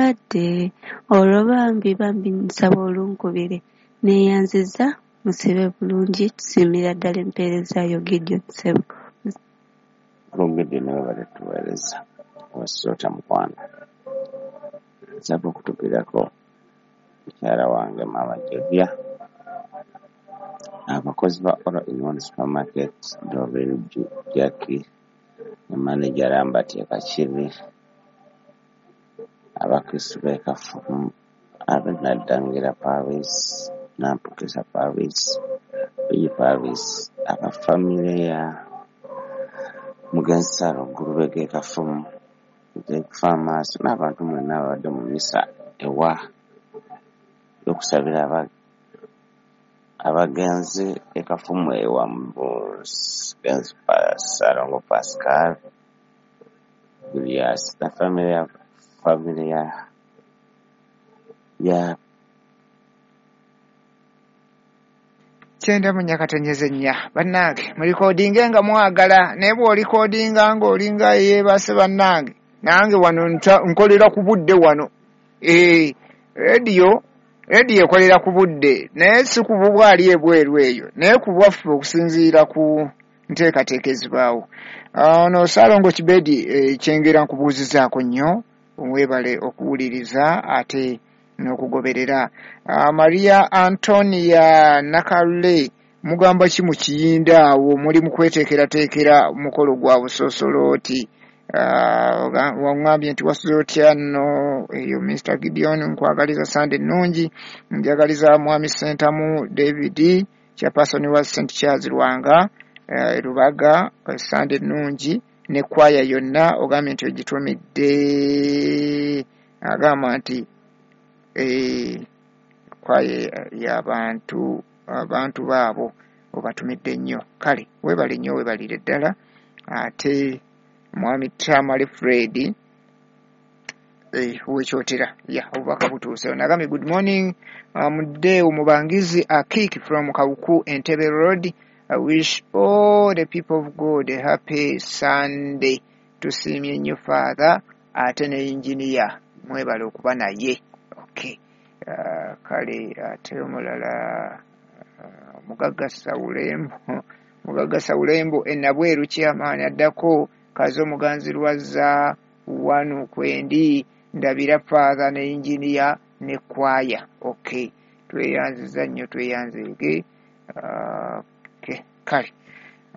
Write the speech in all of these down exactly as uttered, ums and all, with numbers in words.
mulwadde. Olwo bambi bambi nsaba olunkubire. Neeyanzizza, musibe bulungi, tusiimira ddala empeereza yo Gideon ssebo. Gideon webale tuweereza owesoota mukwano. Nsaba okutukirako mukyala wange Maama Jovia, abakozi ba All in One Supermarket, Doreen Jackie ne manager Lambert Kakiri, abakristu b'e Kafumu, ab'e Naddangira Paris, Nampukisa Paris, Bigi Paris, aba famire ya Mugenzi Ssaalongo Lubega e Kafumu, okufa amaaso n'abantu mwenna ababadde mu mmisa ewa y'okusabira abagenzi e Kafumu ewa Mugenzi Ssaalongo Pascal Julius na famire ya famire ya ya Kyenda mu nyakatonyeze nnya. Bannange mulikodinge nga mwagala, naye bw'olikodinga ng'olinga yeebase bannange, nange wano nkolera ku budde wano. Eh, rediyo rediyo ekolera ku budde, naye si ku bubwali ebweru eyo, naye ku bwaffe okusinziira ku nteekateeka ezibaawo. Ono Ssaalongo Kibedi Kyengera nkubuuzizaako nnyo, weebale okuwuliriza ate n'okugoberera. Maria Antonia Nakalule, mugamba ki mu Kiyinda awo muli mu kweteekerateekera mukolo gwa busoosolooti? Waŋŋambye nti wasuze otya nno eyo Mister Gideon, nkwagaliza Sande ennungi, njagaliza Mwami Ssentamu David chairperson wa Saint Charles Lwanga Rubaga Sande ennungi ne kwaya yonna, ogambye nti ogitumidde, agamba nti eh kwaya y'abantu abantu baabo obatumidde nnyo. Kale weebale nnyo, weebalire ddala. Ate Mwami Tamale Fred eh wekyotera ya obubaka butuuse. Nagambye good morning mudde um, Mubangizi Akik from Kawuku Entebbe Road. I wish all the people of God a happy Sunday. Tusiimye nnyo Father ate ne engineer mwebale okuba naye. Okay. Uh, kale ate omulala uh, Mugagga Sawulembo Mugagga Sawulembo enabweru chairman addako Kazo Muganzi Lwazza wano kwendi ndabira Father ne engineer ne kwaya. Okay. Tweyanziza nnyo, tweyanzeege. Uh, okay. Kale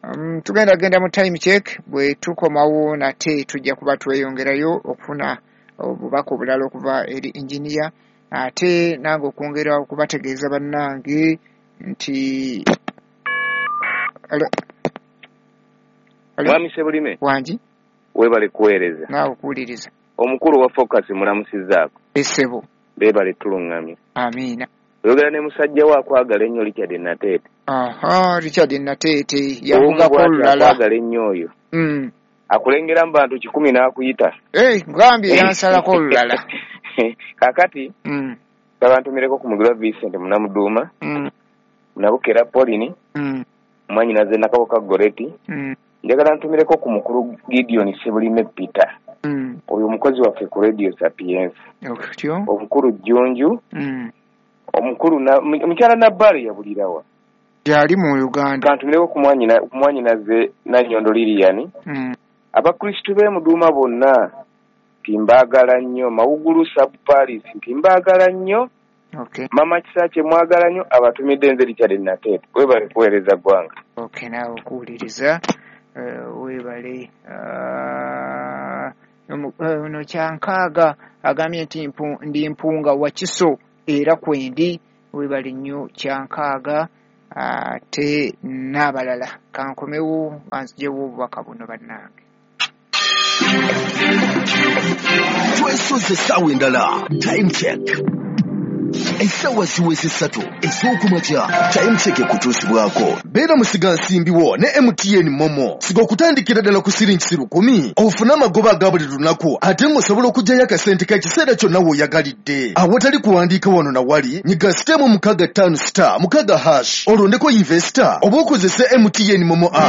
um, tugenda genda mu time check, bwe tukomawo nate tujja kuba tweyongerayo okufuna obubaka obulala okuva eri engineer, ate nange okwongera okubategeeza bannange nti Mwami Ssebulime wangi weebale kuweereza naawe okuwuliriza. Omukulu wa Focus mulamusizzaako. Essebo beebale tuluŋŋamye. Amiina. Oyogera ne musajja we akwagala ennyo Richard Nateete. Aha, Richard Nateete yavugako olulala. Akwagala ennyo oyo. Mm. Akulengera mu bantu kikumi n'akuyita. Eh, ngambye yansalako olulala. Kaakati mm. Kabantumireko ku Mugirwa Vincent Munamuduuma. Mm. Munabukera Pauline. Mm. Mwannyinaze Nakaboka Goreti. Mm. Njagala ntumireko ku mukulu Gideon Ssebulime Peter. Mm. Oyo omukozi waffe ku Radio Sapiens. Okutyo. Omukulu Jjunju. Mm. Omukulu na mukyala Nabbaale yabulirawa. Gyali mu Uganda. Kantumireko ku mwannyinaze Nannyondo Lilian. Mm. Abakristu b'e Muduuma bonna nti mbaagala nnyo. Mawugulu Sub Paris nti mbaagala nnyo. Okay. Mama Kisaakye mwagala nnyo, abatumidde nze Richard Nateete. Weebale kuweereza ggwanga. Okay, naawe okuwuliriza. Uh, weebale. Ono uh, Kyankaaga agambye nti ndi mpunga wa Kiso era kwendi. Weebale nnyo Kyankaaga ate n'abalala. Kankomewo banziggyewo obubaka buno bannange. Twesoze essaawa endala. Time check. Essaawa ziweze ssatu ez'okumakya. Time check ekutuusibwako. Beera musigansimbi wo ne M T N Momo. Siga okutandikira ddala ku siringi lukumi ofune amagoba aga buli lunaku, ate ng'osobola okuggyayo akasente k'ekiseera kyonna w'oyagalidde. Awatali kuwandiika wano na wali, nyiga sitemu mukaaga ttaano star mukaaga hash olondeko investor oba okozese M T N Momo app.